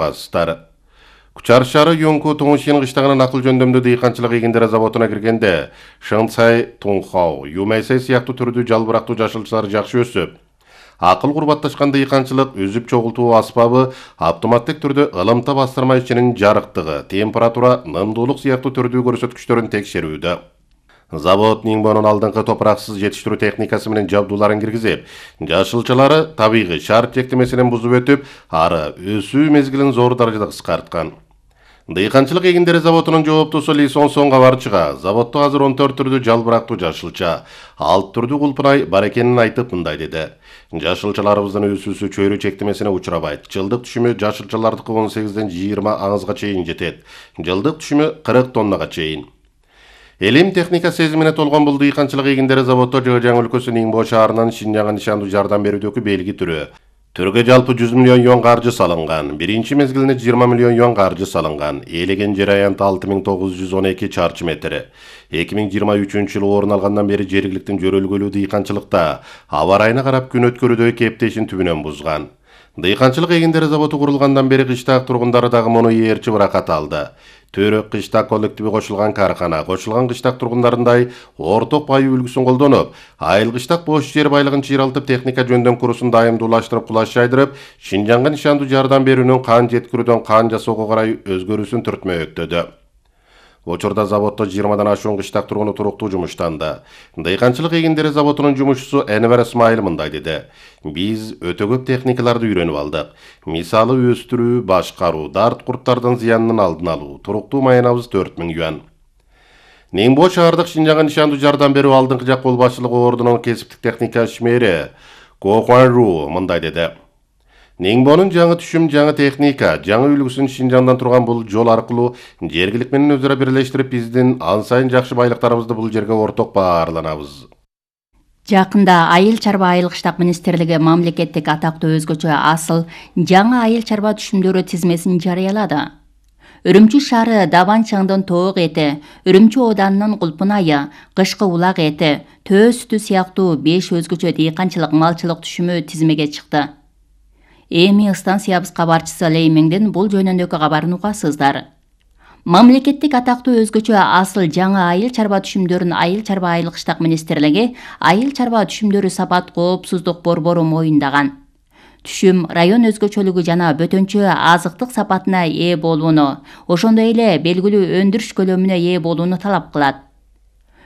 Бастар. Кучар шары Йонку Туңшин кыштагынан акыл жөндөмдүү дыйканчылык эгиндери заводуна киргенде Шыңцай, Тунхау, Юмайсай сыяктуу түрдүү жалбырактуу жашылчалар жакшы өсүп, акыл курбатташкан дыйканчылык үзүп чогултуу аспабы автоматтык түрдө ылымта бастырма ичинин жарыктыгы, температура, нымдуулук сыяктуу түрдүү көрсөткүчтөрүн текшерүүдө. Завод Ниңбонун алдыңкы топураксыз жетиштирүү техникасы менен жабдууларын киргизип, жашылчалары табигый шарт чектемесинен бузуп өтүп, ары өсүү мезгилин зор даражада кыскарткан. Дыйканчылык эгиндери заводунун жооптусу Ли Сонсон кабарчыга заводдо азыр 14 түрдүү жалбырактуу жашылча, 6 түрдүү кулпунай бар экенин айтып мындай деди. Жашылчаларыбыздын өсүүсү чөйрө чектемесине учурабайт. Жылдык түшүмү жашылчалардыкы 18ден 20 аңызга чейин жетет. Жылдык түшүмү 40 тоннага чейин. Элим техника сезимине толгон бул дыйканчылык эгиндери заводдо Жыгжаң өлкөсү Ниңбо шаарынан Шинжаңга нишандуу жардам берүүдөгү белги түрү. Түргө жалпы 100 миллион юан каржы салынган. Биринчи мезгилинде 20 миллион юан каржы салынган. Ээлеген жер аянты 6912 чарчы метр. 2023-жылы орун алгандан бери жергиликтин жөрөлгөлүү дыйканчылыкта аба ырайына карап күн өткөрүүдө кептешин түбүнөн бузган. Дыйканчылык эгиндери заводу курулгандан бери кыштак тургундары дагы муну ээрчи ыракат алды. Төрөк кыштак коллективи кошулган каркана, кошулган кыштак тургундарындай орток бай үлгүсүн колдонуп, айыл кыштак бош жер байлыгын чыйралтып, техника жөндөм курусун дайымдуулаштырып, кулаш жайдырып, Шинжаңга нишандуу жардам берүүнүн кан жеткирүүдөн кан жасоого карай өзгөрүүсүн түртмөктөдү. Учурда заводдо 20дан ашуун кыштак тургуну туруктуу жумуштанды. Дыйканчылык эгиндери заводунун жумушчусу Энвер Исмайыл мындай деди. Биз өтө көп техникаларды үйрөнүп алдык. Мисалы өстүрүү, башкаруу, дарт курттардын зыянынын алдын алуу. Туруктуу маянабыз 4000 юан. Ниңбо шаардык Шинжаңга нишандуу жардам берүү алдыңкы жак кол башчылыгы ордунун кесиптик техника ишмери Ко Хуанру мындай деди. Ниңбонун жаңы түшүм, жаңы техника, жаңы үлгүсүн Шинжаңдан турган бул жол аркылуу жергилик менен өзара бирлештирип, биздин ан сайын жакшы байлыктарыбызды бул жерге орток баарланабыз. Жакында Айыл чарба айыл кыштак министрлиги мамлекеттик атактуу өзгөчө асыл жаңы айыл чарба түшүмдөрү тизмесин жарыялады. Үрүмчү шаары Дабан чаңдын тоок эти, Үрүмчү ооданынын кулпунайы, кышкы улак эти, төө сүтү сыяктуу 5 өзгөчө дыйканчылык малчылык түшүмү тизмеге чыкты. Эми станциябыз кабарчысы Леймеңдин бул жөнүндөгү кабарын угасыздар. Мамлекеттик атактуу өзгөчө асыл жаңы айыл чарба түшүмдөрүн Айыл чарба айыл кыштак министрлиги Айыл чарба түшүмдөрү сапат коопсуздук борбору моюндаган. Түшүм район өзгөчөлүгү жана бөтөнчө азыктык сапатына ээ болууну, ошондой эле белгилүү өндүрүш көлөмүнө ээ болууну талап кылат.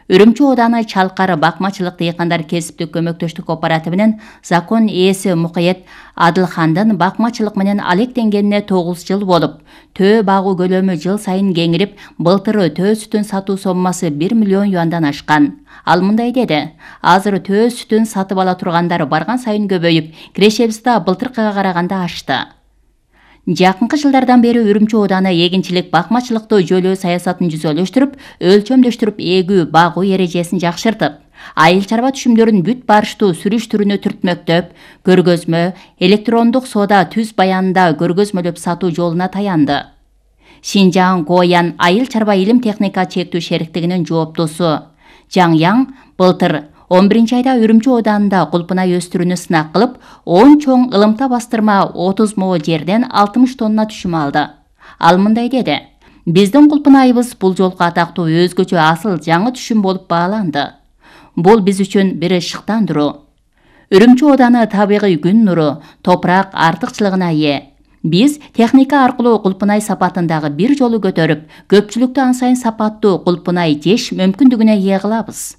Үрүмчү ооданы Чалкары бакмачылык дыйкандар кесиптик көмөктөштүк кооперативинин закон ээси Мукаят Адылхандын бакмачылык менен алектенгенине 9 жыл болуп, төө багуу көлөмү жыл сайын кеңирип, былтыр төө сүтүн сатуу соммасы 1 миллион юандан ашкан. Ал мындай деди: азыр төө сүтүн сатып ала тургандар барган сайын көбөйүп, кирешебиз да былтыркыга караганда ашты. Жакынкы жылдардан бери Үрүмчү ооданы эгинчилик бакмачылыкты жөлөө саясатын жүзөлөштүрүп, өлчөмдөштүрүп эгүү багуу эрежесин жакшыртып, айыл чарба түшүмдөрүн бүт барыштуу сүрүш түрүнө түртмөктөп, көргөзмө, электрондук соода түз баянында көргөзмөлөп сатуу жолуна таянды. Шинжаң Гоян айыл чарба илим техника чектүү шериктигинин жооптусу Жаң Яң былтыр 11 айда Үрүмчү ооданында кулпунай өстүрүүнү сынак кылып, 10 чоң ылымта бастырма 30 мо жерден 60 тонна түшүм алды. Ал мындай деди: биздин кулпунайыбыз бул жолку атактуу өзгөчө асыл жаңы түшүм болуп бааланды. Бул биз үчүн бир шыктандыруу. Үрүмчү ооданы табигый күн нуру, топурак артыкчылыгына ээ. Биз техника аркылуу кулпунай сапатын дагы бир жолу көтөрүп, көпчүлүктү ан сайын сапаттуу кулпунай жеш мүмкүндүгүнө ээ кылабыз.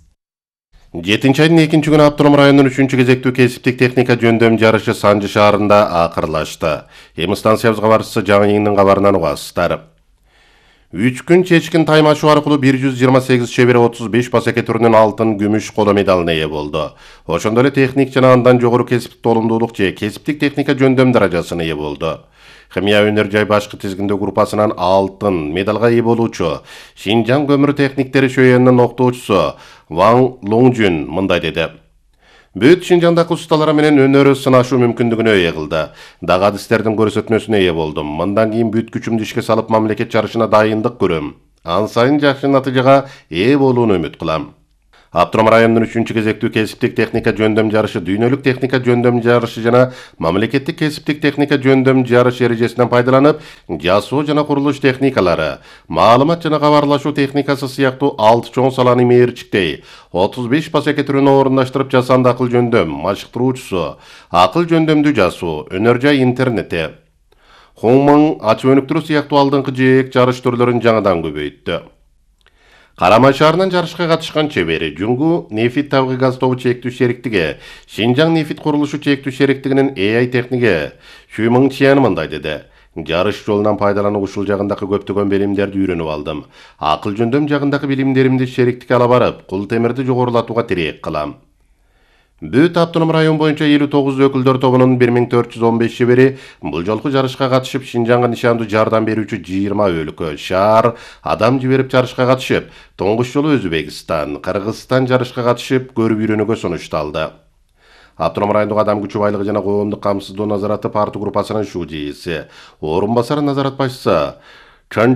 7 айдын 2 күнү Автоном районунун 3 кезектүү кесиптик техника жөндөм жарышы Санжы шаарында акырлашты. Эми станциябыз кабарчысы Жаңы Яңдын кабарынан угасыздар. 3 күн чечкин тайм ашуу аркылуу 128 чебери 35 пасеке түрүнүн алтын, күмүш коло медалына ээ болду. Ошондой эле техник жана андан жогору кесиптик толумдуулук же кесиптик техника жөндөм даражасына ээ болду. Химия өнөр жай башкы тизгиндөө группасынан алтын медалга ээ болуучу Шинжаң көмүр техниктери шөйөнүнүн октоочусу Ван Лоңжун мындай деди: бүт Шинжаңдагы усталар менен өнөрү сынашуу мүмкүндүгүнө ээ кылды. Дагы адистердин көрсөтмөсүнө ээ болдум. Мындан кийин бүт күчүмдү ишке салып мамлекет жарышына дайындык көрөм. Ан сайын жакшы натыйжага ээ болууну үмүт кылам. Автоном райондун 3-кезектүү кесиптик техника жөндөм жарышы, дүйнөлүк техника жөндөм жарышы жана мамлекеттик кесиптик техника жөндөм жарыш эрежесинен пайдаланып, жасоо жана курулуш техникалары, маалымат жана кабарлашуу техникасы сыяктуу 6 чоң саланы мээрчиктей, 35 пасеке түрүн орундаштырып жасанды акыл жөндөм, машыктыруучусу, акыл жөндөмдүү жасоо, өнөр жай интернети, хоңмоң, ачып өнүктүрүү сыяктуу алдыңкы жээк жарыш түрлөрүн жаңадан көбөйттү. Карамай шаарынан жарышка катышкан чебери Жуңгу нефит табыгы газ тобу чектүү шериктиги, Шинжаң нефит курулушу чектүү шериктигинин AI техниги Шүймың Чиан мындай деди. Жарыш жолунан пайдалануу ушул жагындагы көптөгөн билимдерди үйрөнүп алдым. Акыл жөндөм жагындагы билимдеримди шериктикке ала барып, кул темирди жогорулатууга тиреек кылам. Бүт автоном район боюнча 59 өкүлдөр тобунун 1415 чебери бул жолку жарышка катышып, Шинжаңга нишандуу жардам берүүчү 20 өлкө, шаар, адам жиберип жарышка катышып, тоңгуч жолу Өзбекстан, Кыргызстан жарышка катышып, көрүп үйрөнүүгө сунушталды. Автоном райондук адам күчү байлыгы жана коомдук камсыздоо назараты парты группасынын шуу жээси, орун басары назарат башчысы